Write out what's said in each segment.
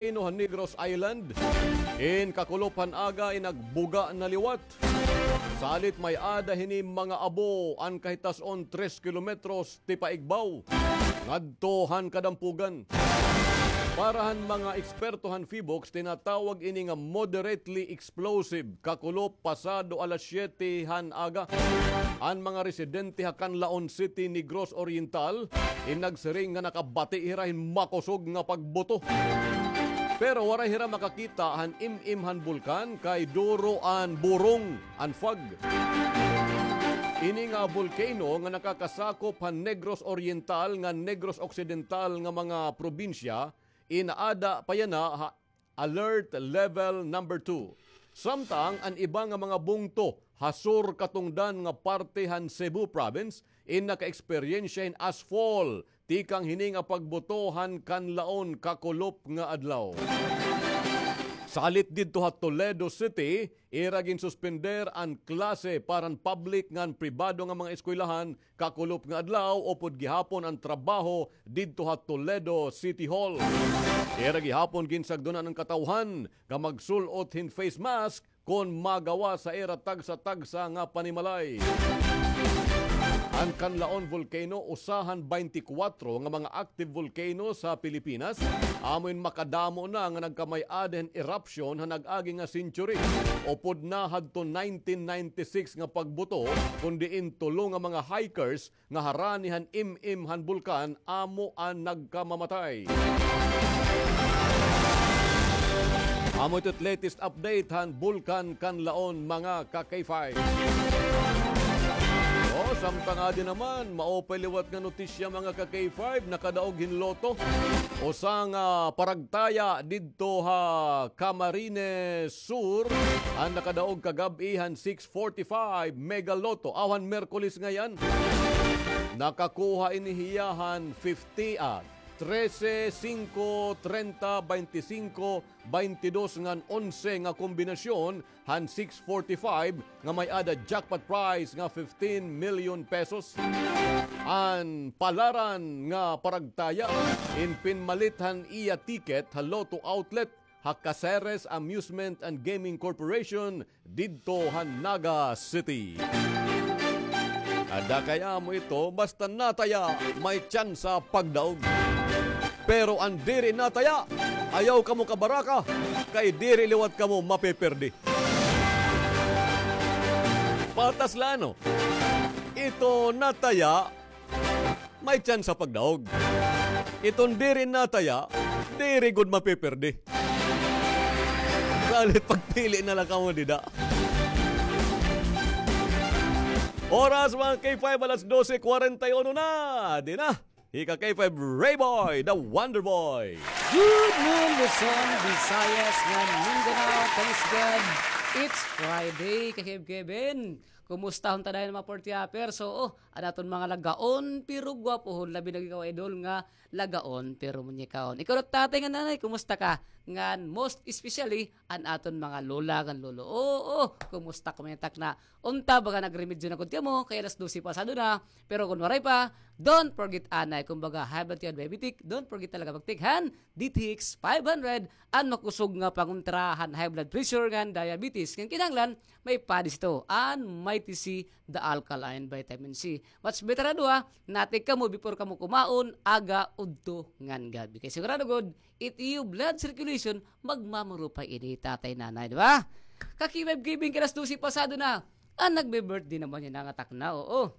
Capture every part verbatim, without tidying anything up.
Ino han Negros Island, in kakulop han aga in nagbuga na liwat. Salit may-ada hini mga abo an kahitas-on tres kilometros ti paigbaw ngadto han kadampugan. Para han mga eksperto han PHIVOLCS, tinatawag ini nga moderately explosive kakulop pasado alas siyete han aga. An mga residente ha Canlaon City, Negros Oriental, in nagsiring nga nakabati hira hin makusog nga pagbuto. Pero waray hira makakita han imim han bulkan kay duro an burong, an fog. Ini nga volcano nga nakakasakop han Negros Oriental ngan Negros Occidental nga mga probinsya, in aada pa yana ha Alert Level number two. Samtang an iba nga mga bungto ha sur katungdan nga parte han Cebu Province in nakaeksperyensya hin ashfall tikang hini nga pagbuto han Canlaon kakulop nga adlaw. Salit didto ha Toledo City, ira ginsuspender an klase para han public ngan pribado nga mga eskwelahan kakulop nga adlaw upod gihapon an trabaho didto ha Toledo City Hall. Ira gihapon ginsagdonan an katawhan nga magsul-ot hin face mask kon magawas ha ira tagsa-tagsa nga panimalay. An Canlaon Volcano, usa han baynte kwatro nga mga active volcano sa Pilipinas, amo in makadamo na nga nagkamay-ada hin eruption ha nag-agi nga century. Upod na hadto nineteen ninety-six nga pagbuto, kon diin tulo nga mga hikers nga harani han imim han bulkan amo an nagkamamatay. Amo ito it latest update han Bulkan Canlaon, mga ka-K five. O, samtang adi naman, maupay liwat nga notisya, mga ka-K five, nakadaog hin lotto. Usa nga paragtaya didto ha Camarines Sur an nakadaog kagab-i han six forty-five Mega Lotto, aw han Miyerkules ngay-an. Nakakuha ini hiya han fifty, ah, trese, singko, trenta, baynte singko, baynte dos ngan onse nga kombinasyon han six forty-five nga may-ada jackpot prize nga fifteen million pesos. An palaran nga paragtaya in pinmalit han iya ticket ha Lotto Outlet ha Caceres Amusement and Gaming Corporation didto ha Naga City. Ada kay amo ito, basta nataya, may tsansa pagdaog. Pero an diri nataya, ayaw kamo kabaraka, kay diri liwat kamo mapipirdi. Patas la, no? Ito nataya, may tsansa pagdaog. Iton diri nataya, diri gud mapipirdi. Salit pagpili na la kamo dida. Oras, mga K five, alas dose kwarenta y uno na. Di na. Hi ka K five Ray Boy, the Wonder Boy. Good noon, Luzon, Visayas, ngan Mindanao. Thanks God, it's Friday, ka-Kev Kevin. Kumusta hon ta dayon, mga forty upper? So, oh, an aton mga lagaon, pero gwapohon, labi na ikaw, idol, nga lagaon, pero munyekahon. Ikaw, tatay ngan nanay, kumusta ka? Ngan, most especially, an aton mga lola ngan lolo. Oo, kumusta kamo, takna? Unta, baga nagremedyo na gud kamo, kay alas dose pasado na. Pero kon waray pa, don't forget anay, kon baga high blood ka, diabetic, don't forget talaga mag-take han D T X five hundred, an makusog nga pangontra han high blood pressure ngan diabetes. Ngan kinahanglan, may padis ito, an Mighty C, the alkaline vitamin C. Much better na duha, na-take kamo before kamo kumaon, aga, udto, ngan gab-i. Kay sigurado gud, it iyo blood circulation, magmamurupay ini, tatay, nanay, di ba? Ka-K five Kevin, kay alas dose pasado na. An nagbe-birthday naman yana nga takna, oo.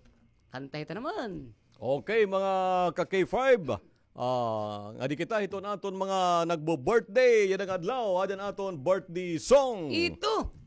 Kanta hita naman. Okay, mga ka-K five. Ah, ngadi kita hiton aton mga nagbo-birthday yana nga adlaw, adi an aton birthday song. Ito.